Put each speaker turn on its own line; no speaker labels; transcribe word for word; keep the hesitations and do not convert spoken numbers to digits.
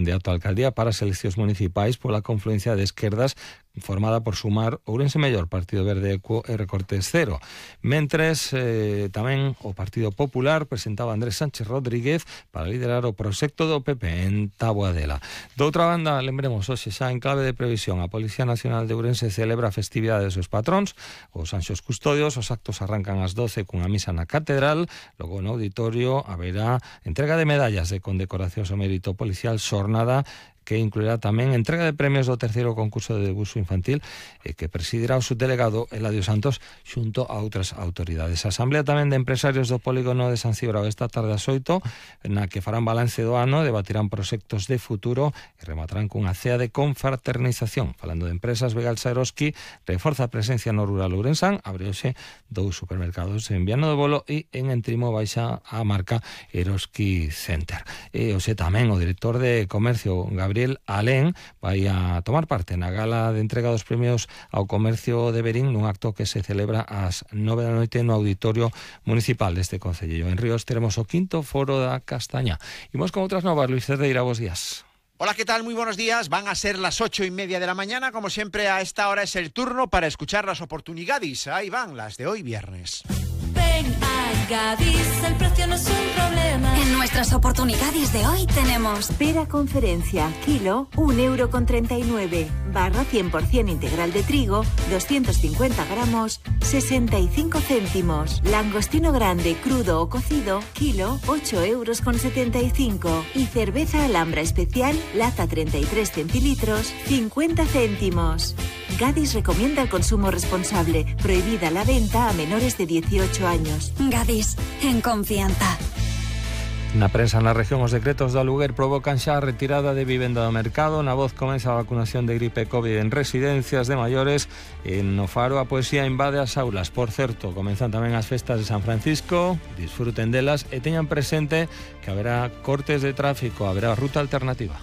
de autoalcaldía para as eleccións municipais pola confluencia de esquerdas formada por Sumar, Ourense Mellor, Partido Verde Equo e Recortes Cero. Mentres, eh, tamén o Partido Popular presentaba a Andrés Sánchez Rodríguez para liderar o proxecto do P P en Taboadela. Doutra banda, lembremos, hoxe xa en clave de previsión, a Policía Nacional de Ourense celebra a festividade dos seus patróns, os Anxos Custodios. Os actos arrancan ás doce cunha misa na Catedral, logo no auditorio haberá entrega de medallas de condecoracións ao mérito policial, xornada que incluirá tamén entrega de premios do terceiro concurso de debuxo infantil e que presidirá o subdelegado Eladio Santos xunto a outras autoridades. A Asamblea tamén de Empresarios do Polígono de San Cibrao esta tarde ás oito, na que farán balance do ano, debatirán proxectos de futuro e rematarán cunha cea de confraternización. Falando de empresas, Begalsa Eroski reforza a presencia no rural ourensán, abre hoxe dous supermercados en Viana do Bolo e en Entrimo baixa a marca Eroski Center. E hoxe tamén o director de Comercio, Gabriel Alén, vai a tomar parte na gala de entrega dos premios ao comercio de Verín nun acto que se celebra ás nove da noite no auditorio municipal deste concello. En Ríos teremos o quinto foro da castaña. Imos con outras novas. Luis Cerdeira, bos días.
Hola, ¿qué tal? Muy buenos días. Van a ser las ocho y media de la mañana. Como siempre, a esta hora es el turno para escuchar las oportunidades. Ahí van, las de hoy viernes.
Ven a Gadis, el precio no es un problema.
En nuestras oportunidades de hoy tenemos
pera conferencia, kilo, un euro con treinta y nueve. Barra cien por ciento integral de trigo, doscientos cincuenta gramos, sesenta y cinco céntimos. Langostino grande, crudo o cocido, kilo, ocho euros con setenta y cinco. Y cerveza Alhambra especial, lata treinta y tres centilitros, cincuenta céntimos. Gadis recomienda el consumo responsable. Prohibida la venta a menores de dieciocho años.
Gadis, en confianza.
Na prensa na región, os decretos do aluguer provocan xa a retirada de vivenda do mercado. Na Voz comeza a vacunación de gripe COVID en residencias de maiores. En no Faro a poesía invade as aulas. Por certo, comenzan tamén as festas de San Francisco. Disfruten delas e teñan presente que haberá cortes de tráfico, haberá ruta alternativa.